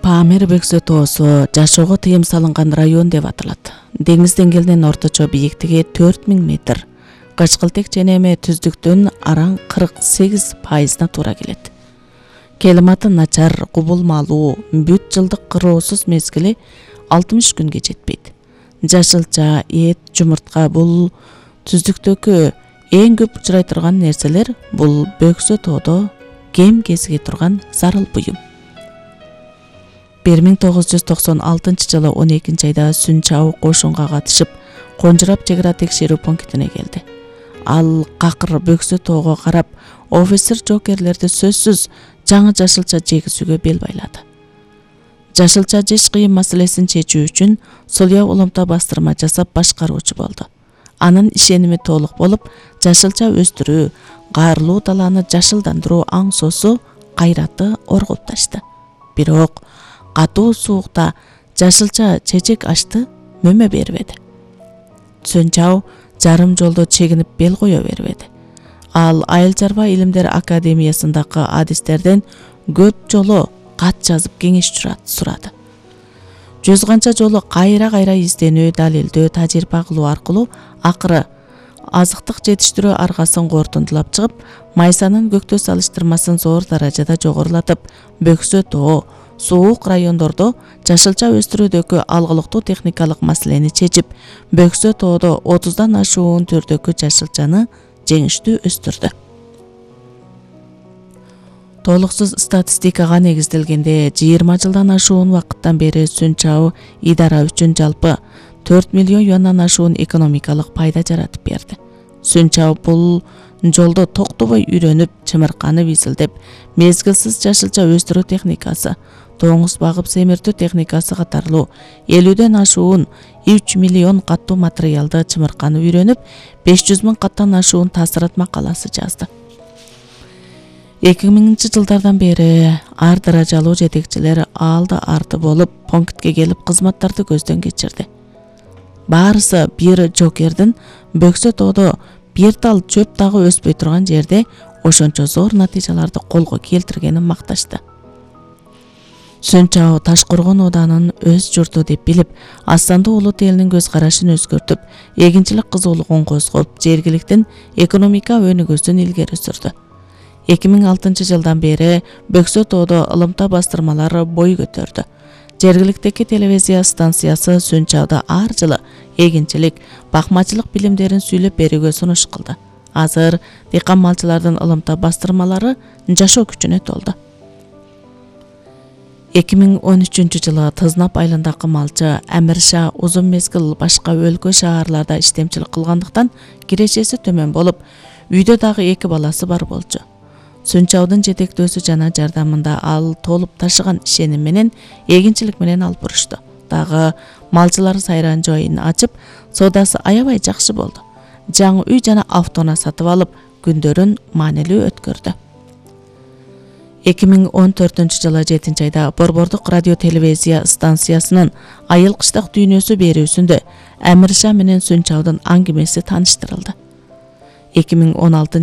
Памир Бөксө тоосу жашоого тыйым салынган район деп аталат. Деңиз деңгээлинин орточо бийиктиги 4000 метр. Кычкылтек ченеме түздүктүн араң 48%на туура келет. Климаты начар, кубулмалуу, бүт жылдык кыроосуз мезгили 60 күнгө жетпейт. Жашылча, эт, жумуртка бул түздүктөгү эң көп учурай турган нерселер. Бул Бөксө тоодо кем кезиге турган зарыл буюм. 1996-жылы 12-айда Сүнчабы кошунга катышып, Конжурап чек ара текшерүү пунктине келди. Ал какыр Бөксө тоого карап, офицер жокерлерди сөзсүз жаңы жашылча жегизүүгө бел байлады. Жашылча жеш кыйын маселесин чечүү үчүн Сулуя уламта бастырма жасап башкаруучу болду. Анын ишеними толук болуп, жашылча өстүрүү, каарлуу даланы жашылдандыруу аңсоосу, кайраты оргуп ташты. Бирок катуу суукта жашылча чечек ашты мөмө бербеди. Сүнчабы жарым жолдо чегинип бел кое бербеди. Ал Айыл чарба илимдер академиясындагы адистерден көп жолу кат жазып кеңеш сурады. Жүз канча жолу кайра изденүү, далилдөө, тажрыйба кылуу аркылуу акыры азыктык жетиштирүү аргасын кортундулап чыгып, майсанын көктөө салыштырмасын зор даражада жогорулатып, Бөксө тоо суук райондордо жашылча өстүрүүдөгү алгылыктуу техникалык маселени чечип, Бөксө тоодо 30дан ашуун түрдөгү жашылчаны жеңиштүү өстүрдү. Толуксуз статистикага негизделгенде 20 жылдан ашуун убакыттан бери Сүнчабы идара үчүн жалпы 4 миллион юандан ашуун экономикалык пайда жаратып берди. Сүнчабы бул жолдо токтобой үйрөнүп, чымырканып изилдеп, мезгилсиз жашылча өстүрүү техникасы, тоңуз багып семиртүү техникасы катарлуу 50ден ашуун 3 миллион каттуу материалды чымырканып үйрөнүп, 500 000 каттан ашуун таасират макаласы жазды. 2000-жылдардан бери ар даражалуу жетекчилер алды арты болуп, пунктке келип кызматтарды көздөн кечирди. Баарысы бир жокердин Бөксө тоодо бир тал чөп дагы өспөй турган жерде ошончо зор натыйжаларды колго келтиргенин макташты. Сүнчабы Ташкоргон оданын өз журту деп билип, Астанды улут элинин көз карашын өзгөртүп, эгинчилик кызуулугун козгоп, жергиликтин экономика өнүгүүсүн илгери сүрдү. 2006-жылдан бери Бөксө тоодо ылымта бастырмалары бой көтөрдү. Жергиликтеги телевизия станциясы Сүнчабыда ар жылы эгинчилик, бакмачылык билимдерин сүйлөп берүүгө сунуш кылды. Азыр дыйкан малчылардын ылымта бастырмалары жашоо күчүнө толду. 2013-жылы Тызнап айылындагы малчы Амирша узун мезгил башка өлкө шаарларда иштемчилик кылгандыктан кирешеси төмөн болуп, үйдө дагы 2 баласы бар болчу. Сүнчабыдын жетектөөсү жана жардамында ал толуп ташыган ишеним менен эгинчилик менен алып бурушту. Дагы малчылар сайран жайын ачып, соодасы аябай жакшы болду. Жаңы үй жана автоунаа сатып алып, күндөрүн маанилүү өткөрдү. 2014-жылы 7-айда Борбордук радио телевизия станциясынын Айыл кыштак дүйнөсү берүүсүндө Амирша менен Сүнчабыдын аңгемеси тааныштырылды. 2016